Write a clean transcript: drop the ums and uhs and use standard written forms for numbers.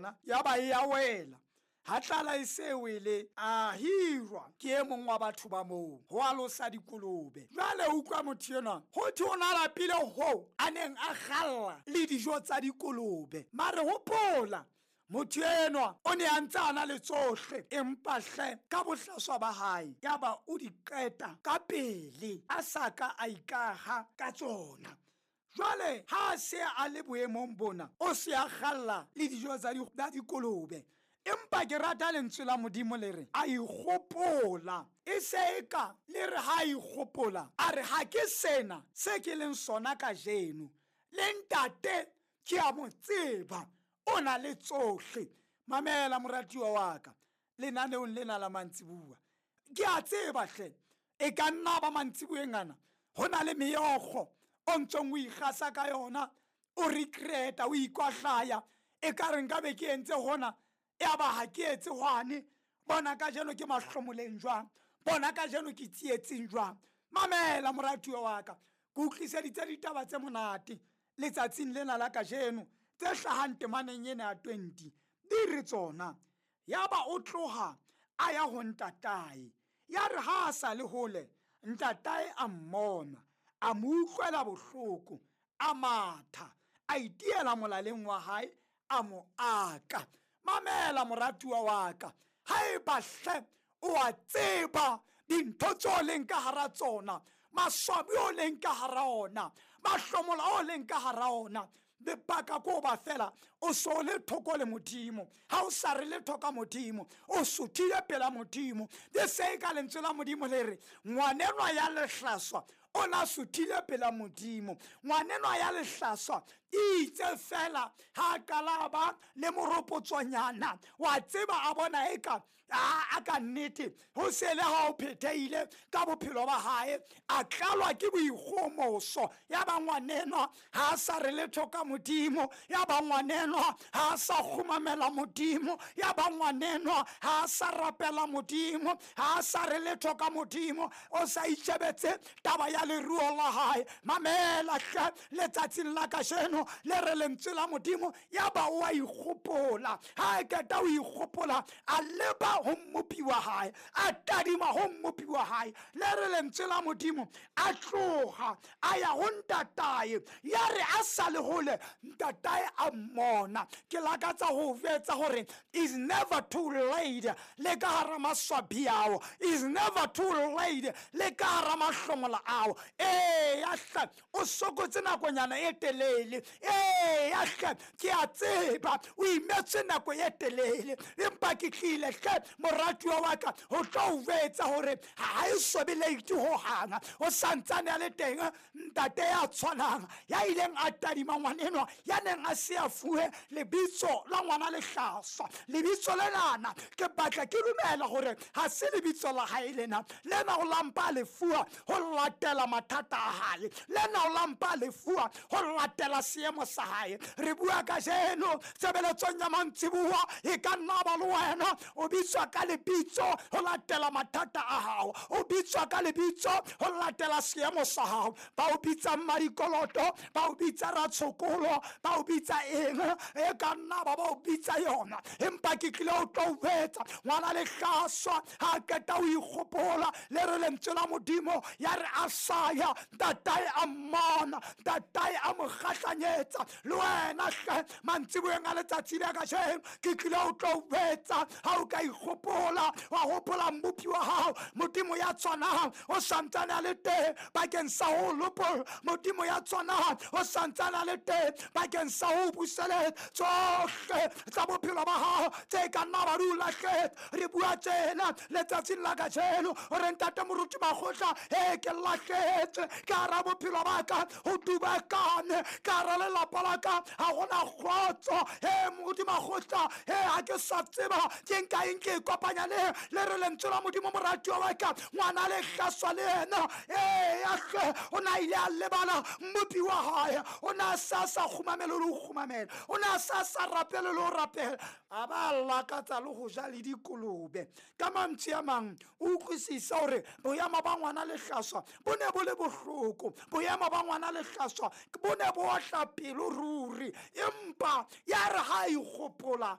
yona ya ba e ya wela. Ha tlala e se wele, a hirwa ke e mong wa batho ba moo ho alosa dikolobe. Jwale utlwa motho enwa, ho thwe o na lapile hoo a neng a kgalla le dijo tsa dikolobe. Mare hopola, motho enwa o ne a ntse a na le tsohle, empa hle ka bohlaswa ba hae yaba o di qeta ka pele a sa ka a ikaha ka tsona. Jwale ha a se a le boemong bona, o se a kgalla le dijo tsa dikolobe. Empa ke rata lentswe la Modimo le re a ikgopola. E se e ka le re ha ikgopola, a re ha ke sena se ke leng sona kajeno, le ntate ke a mo tseba, o na le tsohle. Mamela moratuwa wa ka lenaneong lena la mantsibuwa. Ke a tseba hle, e ka nna ba mantsibueng ana ho na le meokgo o ntsong o ikgasa ka yona, o regreta, o ikwahlaya, e ka re nka be ke entse hona, ya ba ha ke etse hwane. Bona kajeno ke mahlomoleng jwang, bona kajeno ke tsietseng jwang. Mamela moratuwa wa ka, ke utlwiseditse ditaba tse monate letsatsing lena la kajeno tse hlahang temaneng ena ya 20. Di re tsona, ya ba o tloha a ya ho ntatae. Ya re ha a sa le hole, ntatae a mmona, a mo utlwela bohloko, a matha, a itiela molaleng wa hae, a mo aka. Mamela moratuwa wa ka, haeba hle o a tseba dintho tse o leng ka hara tsona, maswabi o leng ka hara ona, mahlomola o leng ka hara ona, lebaka ko ba fela o so le thoko le Modimo. Ha o sa re le thoka Modimo, o suthile pela Modimo. Le se ka lentswe la Modimo le re ngwanenwa ya lehlaswa o na suthile pela Modimo. Ngwanenwa ya lehlaswa itse fela ha qala ba le moropotsonyana, wa tseba a bona eka a ka nnete ho se le ha o phethehile ka bophelo ba hae, a tlalwa ke boikgomoso. Ya ba ngwanenwa ha sa re le thoka Modimo, ya ba ngwanenwa ha sa kgumamela Modimo, ya ba ngwanenwa ha sa rapela Modimo, ha sa re le thoka Modimo, o sa itjebetse taba ya leruo la hae. Mamela hle letsatsing la kajeno le re lentswe la Modimo, ya ba o a ikgopola. Ha e qeta o ikgopola, a leba ho mmopi wa hae, a tadima ho mmopi wa hae. Le re lentswe la Modimo, a tloha a ya ho ntatae. Ya re a sa le hole, ntatae a mmona. Ke lakatsa ho jwetsa hore is never too late le ka hara maswabi ao, is never too late le ka hara mahlomola ao. Eya hle, o sokotse nakonyana e telele. Eya hle, ke a tseba o imetswe nako e telele, empa ke tlile hle moratuwa wa ka ho tlo o jwetsa hore ha e so be late ho hang. O santsane a le teng ntate ya tshwanang ya ileng a tadima ngwanenwa ya neng a se a fuwe lebitso la ngwana lehlaswa. Lebitso lenana ke batla ke dumela hore ha se lebitso la hae lena, lena o lampa lefuwa ho latela mathata a hae, lena o lampa lefuwa ho latela seemo sa hae. Re bua kajeno tshebeletsong ya mantsibuwa, e ka nna ba le wena o bitswa ka lebitso ho latela mathata a hao, o bitswa ka lebitso ho latela seemo sa hao. Ba o bitsa mmadikoloto, ba o bitsa ratshokolo, ba o bitsa eng, e ka nna ba o bitsa yona, empa ke tlile o tlo jwetsa ngwana lehlaswa ha qeta o ikgopola. Le re lentswe la Modimo ya re a saya, ntatae a mmona, ntatae a mo kgahlanyetsa. Le wena hle mantsiboeng a letsatsi le kajeno ke tlile o tlo jwetsa, ha o ka ikgopola wa hopola mmopi wa hao, Modimo ya tshwanang o santsane a le teng bakeng sa ho lopolla, Modimo ya tshwanang o santsane a le teng bakeng sa ho buseletsa tsohle tsa bophelo ba hao tse ka nna ba di o lahlehetse. Re bua tjena letsatsing la kajeno hore ntate moruti Makgotla, e ke lahlehetswe ka hara bophelo ba ka, ho dubakane ka hara lelapa la ka, ha hona kgotso. E moruti Makgotla, e ha ke sa tseba ke nka eng ke ikopanya le le re lentswe la Modimo moratuwa wa ka, ngwana lehlaswa le yena. Eya hle, o na ile a lebala mmopi wa hae, o na sa sa kgumamele le ho kgumamela, o na sa sa rapele le ho rapela, a ba lakatsa le ho ja le dikolobe. Ka mantswe a mang, o utlwisisa hore boemo ba ngwana lehlaswa bo ne bo le bohloko, boemo ba ngwana lehlaswa bo ne bo otla pelo ruri, empa ya re ha ikgopola